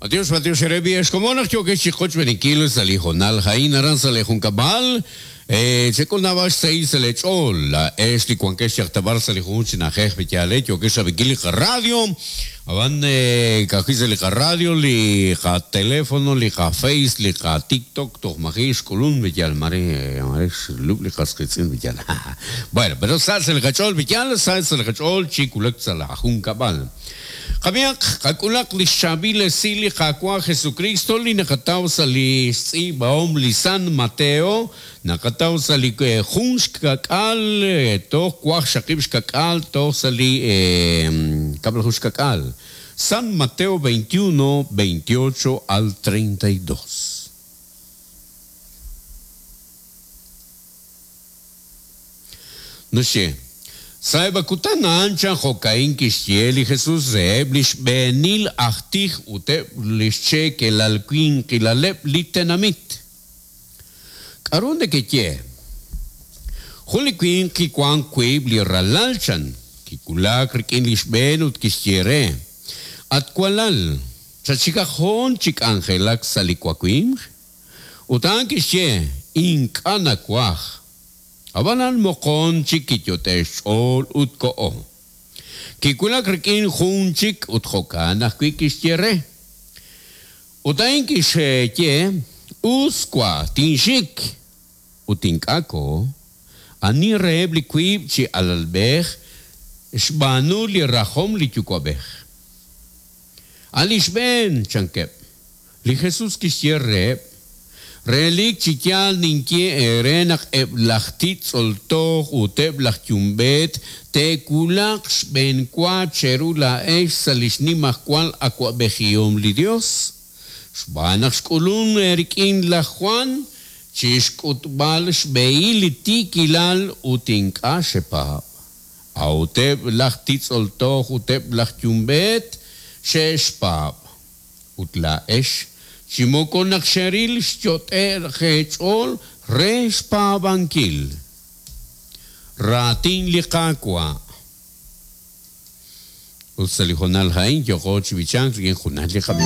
B'antiox, b'antiox eere b'i' ex komon naq yookex chi qochb'eeninkil sa' li hoonal a'in aran sa' lee junkab'al. Chek'ul naab'al xsahil sa' lee ch'ool. Laa'ex li wankex yaq ta b'ar sa' li junjunq chi na'ajej b'i yaal yookex rab'inkil li qaradio. Ab'an ka'ajwi' sa' li qaradio, li qatelefono, li qaface, li qatiktok toj maji' xk'ulun b'i yaal mare mare xlub' li qas qiitz'in b'i yaal. Bueno, pero sa' sa' li qach'ool b'i yaal, sa' sa' li qach'ool chi wulak sa' la junkab'al. Qab'ihaq, qak'ulaq lix chaab'il esil li Qaawa' Jesukristo li naqataw sa' li xtz'iib'ahom li San Mateo, naqataw sa' li jun xkak'al toj waqxaqib' xkak'al toj sa' li kab'laju xkak'al, San Mateo 21, 28 al 32. Naxye, Sa'eb' a kutan a'an chan jo'ka'in kixye li Jesus reheb' li xb'eenil aj tij ut eb' li xcheekelal winqilaleb' li tenamit. K'aru nekeye? Jun li winq kiwank wiib' li ralal chan, kiwulak rik'in li xb'een ut kixye re, At walal, chatxikaq hoon chi k'anjelak sa' li wawimq? Ut a'an kixye, Ink'a' nawaj. Ab'anan moqon chik kiyot'e xch'ool ut koho. Kiwulak rik'in jun chik ut jo'kan ajwi' kixye re. Ut a'in kixye, Us wa, tinxik. Ut ink'a' koho. Ani reheb' li wiib' chi alalb'ej xb'aanu li rajom li yuwa'b'ej? A' li xb'een, chankeb'. Li Jesús kixye reheb', Relik chi yaal ninye eere naq eb' laj titz'ol toj ut eb' laj yumb'eet te'wulaq xb'eenwa cheru laa'ex sa' li xnimajwal awa'b'ejihom li Yos. Xb'aan naq xk'ulunk eerik'in laj Jwan chi xk'utb'al xb'ehil li tiikilal ut ink'a' xepaab'. A'ut eb' laj titz'ol toj ut eb' laj yumb'eet xe'xpaab'. Ut laa'ex, chi moko naq xeril xyot'e'k eech'ool re xpaab'ankil raatin li Qaawa'. Ut sa' li hoonal a'in yooqo chi b'ichank rik'in junal li qab'ich.